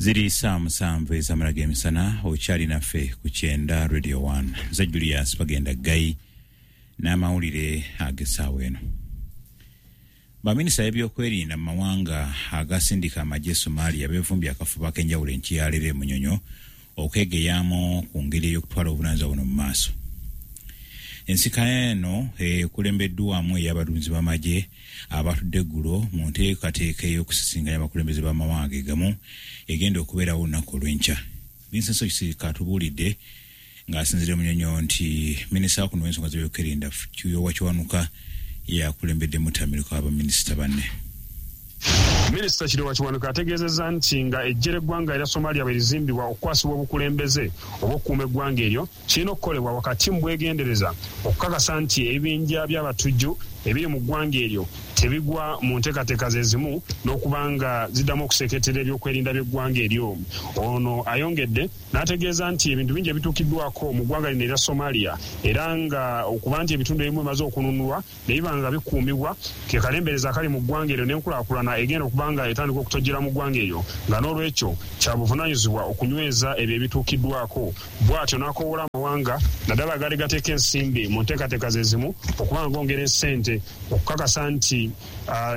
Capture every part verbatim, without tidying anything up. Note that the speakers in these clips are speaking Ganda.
Ziri saa musanvu ez'amala g'emisana, okyali naffe ku Kyenda Radio one. Nze Julius Bagenda Ggayi n'amawulire ag'essaawa eno. Baminisita b'ebyokwerinda mu mawanga agasindika amagye Somalia beevumbye akafubo ak'enjawulo enkya e Munyonyo okwegeyaamu ku ngeri ey'okutwala obuvunaanyizibwa buno mu maaso. Ensika eno ekulembeddwamu ey'abaduumizi b'amagye abatudde eggulo mu nteekateeka ey'okusisinkanya abakulembeze b'amawanga ge gamu egenda okubeerawo olunaku olw'enkya. Vincent Ssekisirika atubuulidde ng'asinziira Munyonyo nti minisita kuno w'ensonga z'ebyokwerinda Kiryowa Kiwanuka yakulembedde mutamiruka w'abaminisita banne. Minisita Kiryowa Kiwanuka ategeezezza nti nga eggye ly'eggwanga erya Somalia bwe lizimbibwa okukwasibwa obukulembeze obw'okukuuma eggwanga eryo, kirina okukolebwa wakati mu bwegendereza okukakasa nti ebibinja by'abatujju ebiri mu ggwanga eryo tebigwa mu nteekateeka ze zimu n'okuba nga ziddamu okuseeketera ebyokwerinda by'eggwanga eryo. Ono ayongedde n'ategeeza nti ebintu bingi ebituukiddwako mu ggwanga lino erya Somalia, era nga okuba nti ebitundu ebimu bimaze okununulwa ne biba nga bikuumibwa, ke kalembereza akali mu ggwanga eryo n'enkulaakulana egenda okuba nga etandika okutojjera mu ggwanga eryo, nga n'olwekyo kya buvunaanyizibwa okunyweza ebyo ebituukiddwako. Bw'atyo n'akoowoola amawanga, naddala agaali gateeka ensimbi mu nteekateeka ze zimu, okuba nga gongera essente okukakasa nti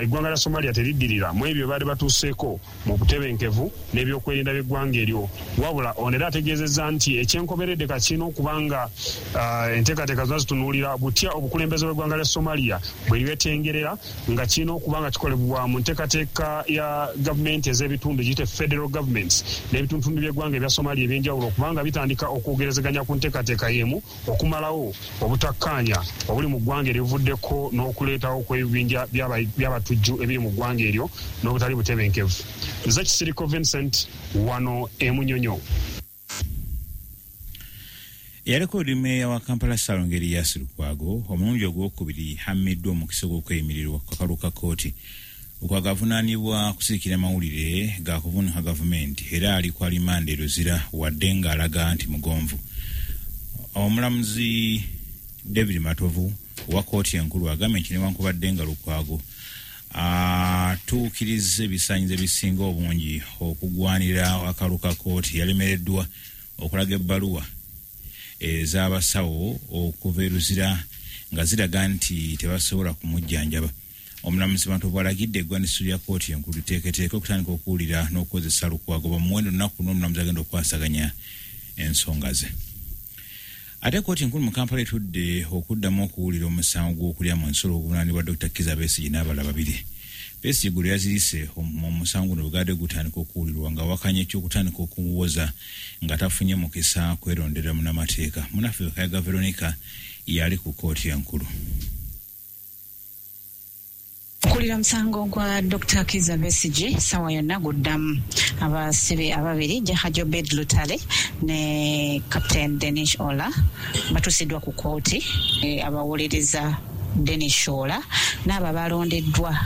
eggwanga lya Somalia teriddirira mu ebyo baali batuuseeko mu butebenkevu n'ebyokwerinda by'eggwanga eryo. Wabula ono era ategeezezza nti ekyenkomeredde kakirina okuba nga enteekateeka zonna zitunuulira butya obukulembeze bw'eggwanga lya Somalia bwe lyetengerera, nga kirina okuba nga kikolebwa mu nteekateeka ya gavumenti ez'ebitundu giyite federal governments n'ebitundutundu by'eggwanga ebya Somalia ebyenjawulo, okubanga bitandika okwogerezeganya ku nteekateeka y'emu okumalawo obutakkaanya obuli mu ggwanga erivuddeko n'okuleetawo kw'ebibinja by'abatujju ebiri mu ggwanga eryo n'obutali butebenkevu. Nze Kisiriko Vincent, wano e Munyonyo. Eyaliko meeya wa Kampala Ssalongo Erias Lukwago omulundi ogwokubiri hammiddwa omukisa gw'okweyimirirwa ku kakalu ka kkooti. Lukwago avunaanibwa kusirikira mawulire ga kuvuunika gavumenti era ali ku alimanda e Luzira, wadde ng'alaga nti mugonvu. Omulamuzi David Matovu owa kkooti enkulu agambye nti newankubadde nga Lukwago atuukiriza ebisaanyizo ebisinga obungi okugwanira akalu ka kkooti, yalemereddwa okulaga ebbaluwa ez'abasawo okuva e Luzira nga ziraga nti tebasobola kumujjanjaba. Omulamuzi Matovu alagidde eggwaniso lya kkooti enkulu liteeketeeke okutandika okuwulira n'okukozesa Lukwago bamuwendo lunaku n'omulamuzi agenda okukwasaganya ensonga ze. Ate kkooti enkulu mu Kampala etudde okuddamu okuwulira omusango gw'okulya mu nsolo oguvunaanibwa Doctor Kizza Besigye n'abalala babiri. Besigye gwe yazirise mu musango guno bwe gutandika okuwulirwa nga awakanya ekyokutandika okuwoza nga tafunye mukisa kwerondera munnamateeka. Munaffe Kayaga Veronica yali ku kkooti enkulu. Okulira musango gwa Doctor Kizza Besigye sawa yonna guddamu. Abasibe ababiri, Jahajo Obed Lutale ne Captain Denis Ola, batuusiddwa ku kkooti. e, abawuliriza Denis Ola n'abo abalondeddwa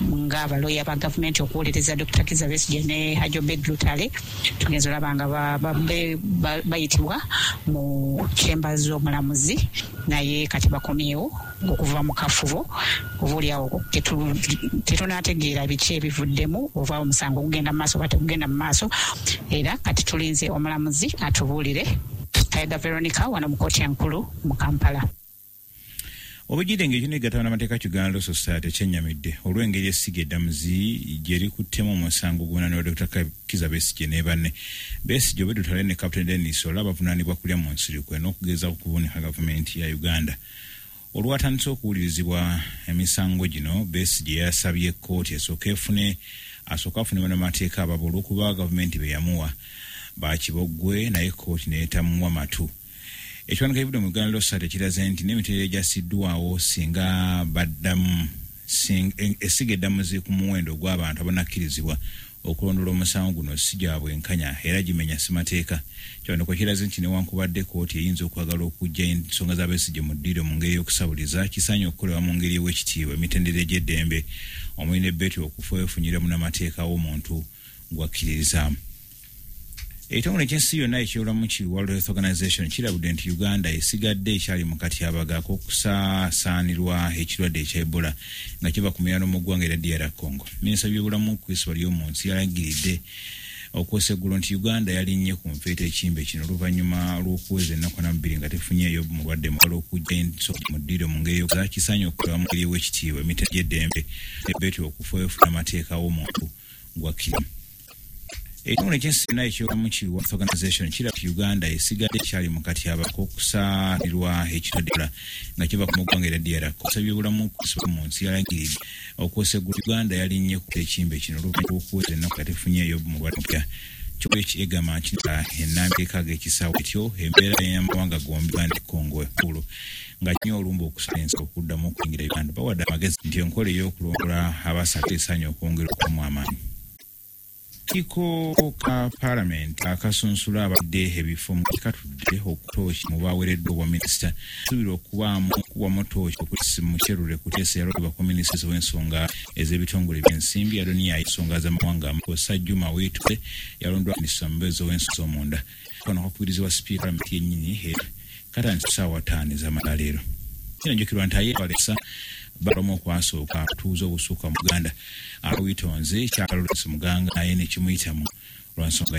ng'abaloya ba gavumenti okuwuliriza Doctor Kizza Besigye ne Haji Obed Lutale, tugenza olaba nga bayitibwa mu chamber z'omulamuzi, naye kati bakomyewo okuva mu kafubo. Oba oliawo tetunategeera biki ebivuddemu, oba omusango gugenda mu maaso oba tegugenda mu maaso, era kati tulinze omulamuzi atubuulire. Kayaga Veronica, wano mu kooti enkulu mu Kampala. Obujjidde ng'ekyo negatta bannamateeka Uganda Law Society kyennyamidde olw'engeri essiga eddamuzi gye likuttemu omusango oguvunaanibwa Doctor Kizza Besigye ne banne. Besigye, Obed Lutale ne Captain Denis Ola bavunaanibwa kulya mu nsirikwe n'okugezaako okuvuunika gavumenti ya Uganda. Olwatandise okuwulirizibwa emisango gino, Besigye yasabye kkooti esooke efune asooke afune bannamateeka ababo olw'okuba gavumenti be yamuwa bakiboggwe, naye kkooti neetamuwa matu. Ekiwandiiko ekivudde mu Uganda Law Society kiraze nti n'emitendera egyasiddwawo singa baddamu essiga eddamuzi ku muwendo ogw'abantu abanakkirizibwa okulondoola omusango guno si gya bwenkanya era gimenya ssemateeka. Kiwandiiko kiraze nti newankubadde kkooti eyinza okwagala okuggya ensonga za Besigye mu ddiiro mu ngeri y'okusabuliza, kisaanye okukolebwa mu ngeri ew'ekitiibwa emitendera egy'eddembe, omuli n'ebbeetu okufeefunyira munnamateeka w'omuntu gwakkiririzaamu. Ekitongole ekyensi yonna ekyobulamu ki World Health Organization kirabudde nti Uganda esigadde ekyali mu katyabaga ak'okusaasaanirwa ekirwadde ekya Ebola nga kiva ku muyano mu ggwanga erya D R Congo. Minisita byobulamu Chris Baryomunsi yalagiridde Okwoseggulo nti Uganda yalinnye ku nfeete ekimbe kino oluvannyuma lw'okuweza ennaku ana mu bbiri nga tefunyeeyo mulwadde mulala okujja ensonga mu ddiiro mu ngeri y'okuzakisaanya okukola mu ngeri ew'ekitiibwa emita gy'eddembe ebetyo okufuefuna amateeka w'omuntu gwakkiriza. Ekitongole ky'ensi yonna eky'obulamu ki World Organization kiraga nti Uganda esigadde ekyali mu katyabaga k'okusaalirwa ekirwadde Ebola nga kiva ku ggwanga erya D R Congo. Ebyobulamu mu nsi yalangiridde okwosegula Uganda yalinnye ku ekimbe kino oluvannyuma lw'okuweza ennaku nga tefunyeeyo mulwadde mupya. Kyokka egamba nti ennambika ag'ekisaawe etyo embeera y'amawanga gombi Uganda ne Congo ekulu nga kinyo olumba okusala ensi okuddamu okuyingira Uganda. Bawadde amagezi nti enkola ey'okulongola abasatu esaanye okwongera okubamu amaanyi. Akakiiko ka Paalamenti akasunsula abadde ebifo mu katudde okutooki mu baweereddwa obwa minisita suubira okubaamu okuwamu tooki okusi Mukyerule Kuteesa yalondebwa ku minisita w'ensonga ez'ebitongole by'ensimbi, Adonia ensonga z'amawanga Kosa Juma Witwe yalondebwa minisita omubeezi w'ensonga z'omunda. Kano kakubirizibwa sipiika Paalamenti yennyini katandise ssaawa ttaano ez'amalaleero. Kinajjukirwa nti ayeewalesa balamu okwasooka atuuza obusuuka mu Uganda awitonze kyakalolesi muganga naye ne kimuyitamu lwa nsonga.